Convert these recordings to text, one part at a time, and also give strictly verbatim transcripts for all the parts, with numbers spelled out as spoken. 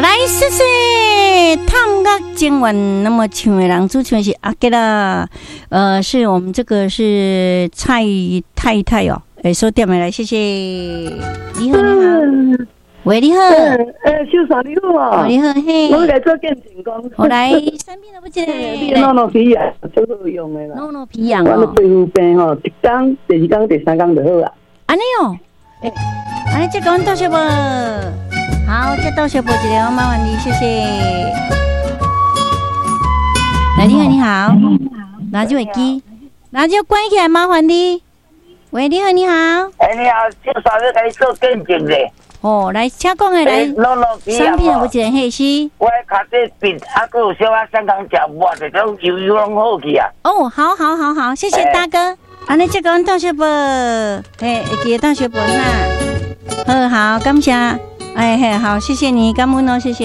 來，謝謝探樂情緣，那麼唱的人主唱的是阿杰啦，呃，是我們這個是蔡太太哦，欸，所點的來，謝謝。你好，你好，喂，你好，欸，秀嫂你好啊，你好，嘿，我來做見證講，我來產品都不見，你諾諾皮癢足好用的啦，諾諾皮癢哦，我皮膚病吼，一工、第二工、第三工就好啦。按呢哦，欸，按呢這講多謝無？好，這倒小播一下，麻煩你，謝謝。來，你好，你好，拿住耳機，拿住關起來，麻煩你。喂，你好，你好。欸，你好，秀嫂欲共你做見證咧。哦，來，請講的來。產品有一個嘿是。我跤底病，啊，閣有小可三工食抹者，種油油攏好去啊。哦，好好好好，謝謝大哥。按呢，這個倒小播，嘿，會記得倒小播哈。好好，感謝。哎嘿，好，謝謝你，感恩哦，謝謝。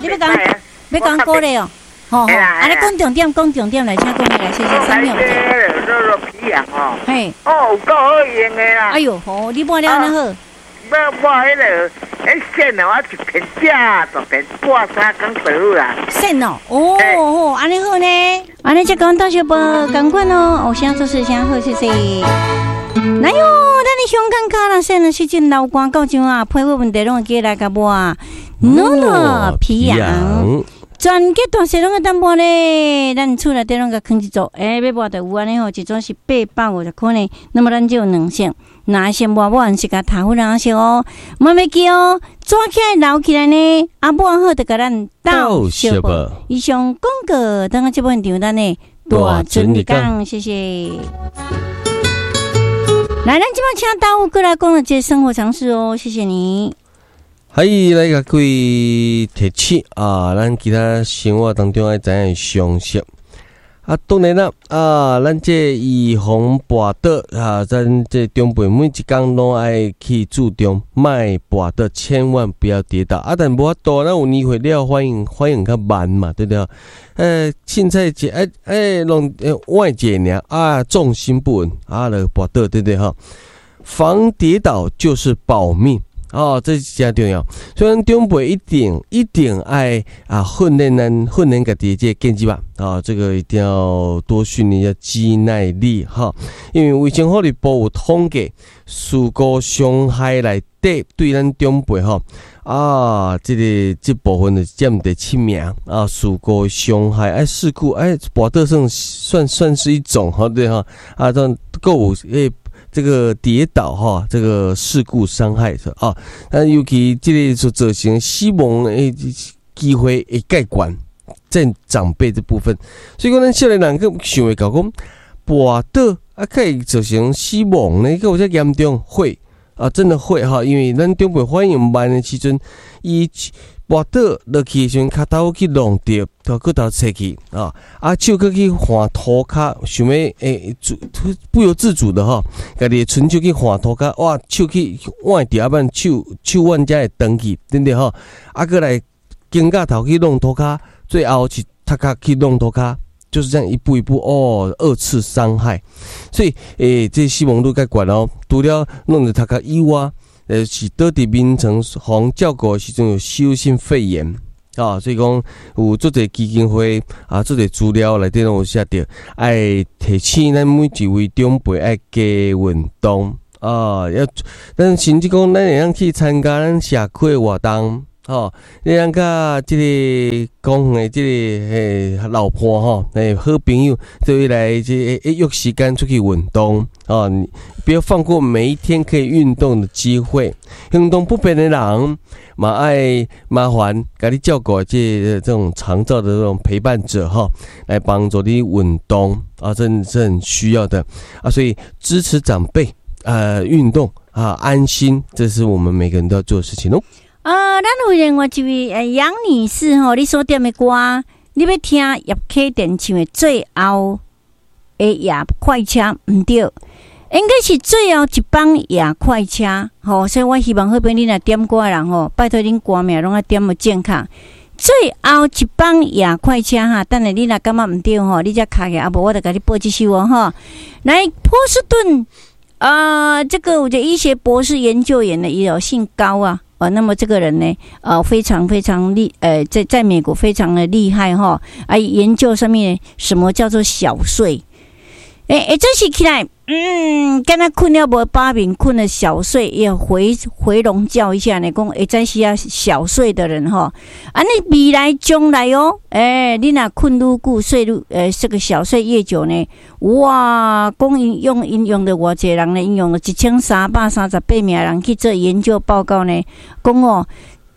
你欲講，欲講鼓勵哦，吼吼，按呢講重點，講重點來，請講來，謝謝。三秒。諾諾皮癢哦。嘿。哦，有夠好用的啦。哎喲，吼，你抹了按呢好。抹抹彼个，彼線哦，我一片食大片，抹三工就好啦。線哦，哦哦，按呢好呢，按呢才講到小寶，仝款哦，哦，啥做事啥好，謝謝。來喲，咱的香港卡啦，線的時陣流汗到這啊，皮膚問題攏會記來共抹。諾諾皮癢，全家大細攏會當抹咧，咱厝內底攏共囥一組，欸，欲抹就有按呢吼，一組是八百五十箍呢。那麼咱只有兩色，藍色抹抹完是共頭粉色哦，莫袂記哦，抓起來留起來呢，啊抹好就共咱鬥相報。以上廣告，等下這本場咱的大准日講，謝謝。來，咱這擺請大武過來講一個生活常識哦，謝謝你。嗨，來共各位提醒啊，咱其他生活當中愛知影常識。啊，當然啦，啊，咱這預防跋倒啊，咱這長輩每一工攏愛去注重，莫跋倒，千萬不要跌倒。啊，但無法度，咱有年歲了，反應反應較慢嘛，對不對？欸，凊彩一欸欸，弄歪一下爾，啊，重心不穩，啊，就跋倒，對不對？哈，防跌倒就是保命。哦，這是誠重要。所以咱長輩一定一定愛啊訓練咱訓練家己的這個健肌吧。啊，這個一定要多訓練一下肌耐力哈。因為衛生福利部有統計，事故傷害內底對咱長輩吼啊，這個這部分就佔第七名啊。事故傷害哎，事故哎，跋倒算算算是一種吼對哈啊，這閣有欸。這個跌倒哈，這個事故傷害是啊，但尤其這個所造成死亡的機會會較懸，在長輩這部分，所以講咱少年人閣想袂到講跋倒啊，可以造成死亡呢，閣有遮嚴重會啊，真的會哈，因為咱長輩反應慢的時陣，伊跋倒落去的時陣，跤頭去弄著，頭骨頭切去啊，啊手閣去換塗跤，想欲欸，不由自主的吼，家己的伸手去換塗跤，哇，手去崴著，啊，不然手手腕才會斷去，對不對吼？啊，閣來肩胛頭去弄塗跤，最後是頭殼去弄塗跤，就是這樣一步一步哦，二次傷害。所以，欸，這死亡率較懸哦，除了弄著頭殼以外。呃，是倒佇眠床予照顧的時陣有吸入性肺炎啊，所以講有足濟基金會啊，足濟資料內底攏有寫著，愛提醒咱每一位長輩愛加運動啊，要咱甚至講咱會當去參加咱社區的活動，吼，你通佮這個公園的這個嘿老伴吼，嘿好朋友做伙來這個約時間出去運動。哦，你不要放過每一天可以運動的機會。行動不便的人，嘛愛麻煩共你照顧這這種長照的這種陪伴者哈，來幫助你運動啊，這這很需要的啊，所以支持長輩呃運動啊，安心，這是我們每個人都要做的事情哦。啊，咱有另外一位呃楊女士吼，你所點的歌，你欲聽葉啟田唱的《最後的夜快車》，毋對，應該是最後一班夜快車，吼，所以我希望好朋友恁若點歌的人吼，拜託恁歌名攏愛點予正確。最最後一班夜快車哈，等下你若感覺毋對吼，你才敲起，啊無我就共你播這首哦吼。來，波士頓啊，這個有一個醫學博士研究員的，伊有姓高啊。哦，那麼這個人呢，呃，非常非常厲，呃，在在美國非常的厲害哈，啊，研究上面什麼叫做小睡？欸欸，這時起來，嗯，敢若睏了無飽眠，睏了小睡，要回回籠覺一下呢。講會早時啊，小睡的人吼，啊，你未來將來哦，欸，你若睏愈久，睡愈，呃，這個小睡越久呢，哇，講𪜶用𪜶用的偌濟人呢，𪜶用了一千三百三十八名人去做研究報告呢，講哦，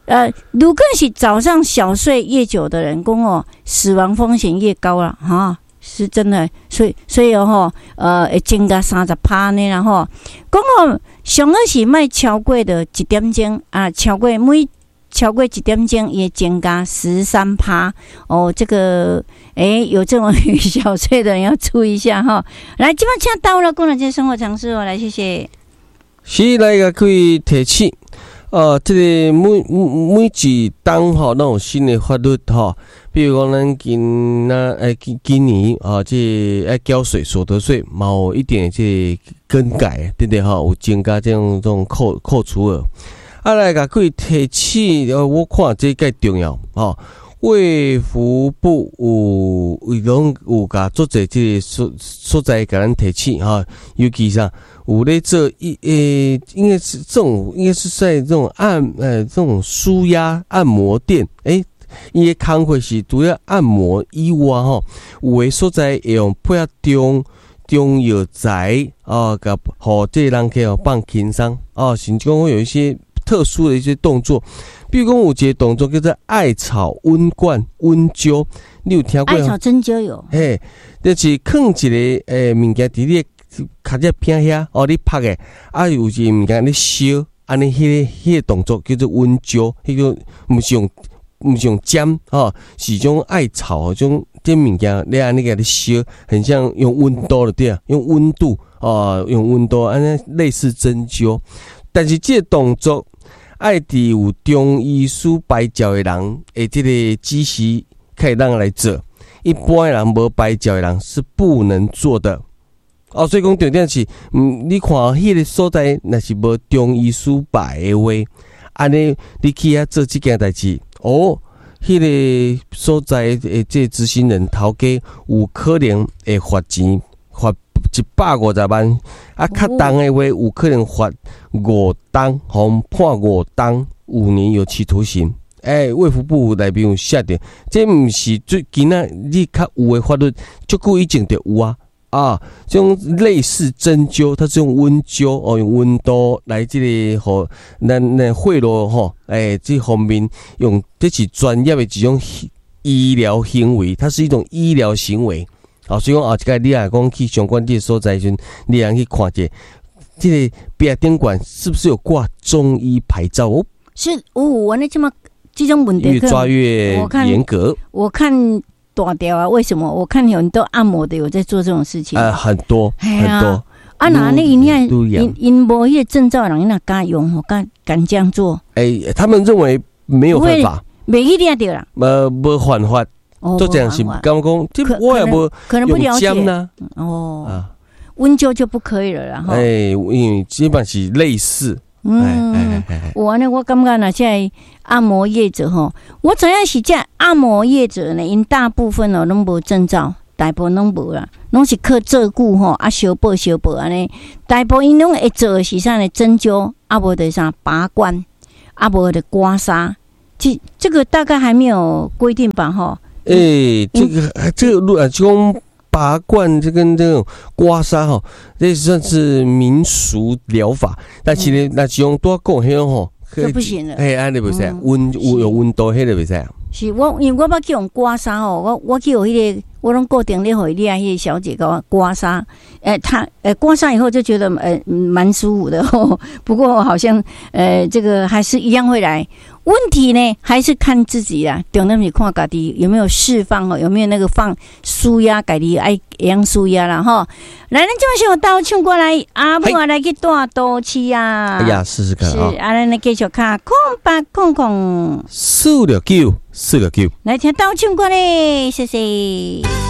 呃，如果是早上小睡越久的人，講哦，死亡風險越高了，哈。是真的，所以所以吼，呃，會增加三十趴呢啦吼。講哦，上好是莫超過著一點鐘啊，超過每超過一點鐘，會增加十三趴哦。這個，欸，有這種小睡的人要注意一下哈。來，這擺請到了，講來這生活常識哦，來，謝謝。是來共各位提醒，呃，這個每每一冬吼，攏有新的法律吼。比如講，咱今仔欸今今年啊，這愛繳稅所得稅，嘛有一點這更改，對不對吼？有增加這種這種扣扣除額。啊，來共各位提醒，我看這較重要吼。衛福部有伊攏有共足濟這個所所在共咱提醒吼，尤其啥有咧做一欸，應該是這種，應該是在這種按呃這種舒壓按摩店，欸，伊的工課是除了按摩以外吼，有的所在會用配合中中藥材哦，共予這個人客哦放輕鬆哦，甚至講會有一些特殊的一些動作，比如講有一個動作叫做艾草溫罐溫灸，你有聽過？艾草針灸有。嘿，就是囥一個欸物件佇你跤脊片遐，哦，你拍的，啊有一個物件咧燒，按呢彼个彼个動作叫做溫灸，彼個毋是用毋是用針吼，是種艾草種這物件咧按呢共你燒，很像用溫度就對啊，用溫度哦，用溫度按呢類似針灸，但是這個動作愛佇有中醫師牌照的人的這個指示，才會當來做。一般的人無牌照的人是不能做的。哦，所以講重點是，嗯，你看彼個所在若是無中醫師牌的話，按呢你去遐做這件代誌，哦，彼個所在的這個執行人頭家有可能會罰錢，罰一百五十萬，啊，較重的話有可能罰五冬，予判五冬五年有期徒刑。欸，衛福部內面有寫著，這毋是最近仔你較有的法律，足久以前就有啊。啊，這種類似針灸，它是用溫灸哦，用溫度來這個予咱咱血路吼，欸，這方面用這是專業的一種醫療行為，它是一種醫療行為。哦，所以講後一擺你若講去相關這個所在時陣，你通去看者，這個壁頂懸是不是有掛中醫牌照哦？是哦，我那這麼這種問題越抓越嚴格。我看大條啊，為什麼？我看有很多按摩的有在做這種事情。呃，很多很多。啊，那那𪜶𪜶𪜶無彼個證照的人，哪敢用？敢敢這樣做？欸，他們認為沒有犯法，袂去掠著啦。呃，無犯法。做這樣是感覺講，這我也無用針呢。哦，溫灸就不可以了啦。欸，因為基本是類似。嗯，我呢，我感覺若這按摩業者吼，我知影是這按摩業者呢，𪜶大部分哦攏無證照，大部分攏無啦，攏是靠照顧吼，啊，相報相報按呢。大部分𪜶攏會做的是啥呢？針灸，啊無就啥拔罐，啊無就刮痧。這這個大概還沒有規定吧？吼。欸，這個這個如啊，這種拔罐，這跟這種刮痧吼，這算是民俗療法。但是呢，若是用拄仔講彼種吼，就不行了。嘿，按呢袂使，溫有有溫度彼個袂使。是我因為我捌去予刮痧吼，我我去予彼個，我攏固定咧予伊遐彼個小姐共我刮痧。欸，她欸刮痧以後就覺得欸蠻舒服的。不過好像呃這個還是一樣會來。問題呢，還是看自己啦。重點是看家己有沒有釋放哦，有沒有那個放舒壓，家己愛會曉舒壓啦吼。來，咱這馬上到唱歌來，阿母啊來去大都市啊。哎呀，試試看啊。是，啊，咱來繼續敲空八空空四六九。四六九。來聽鬥唱歌咧，謝謝。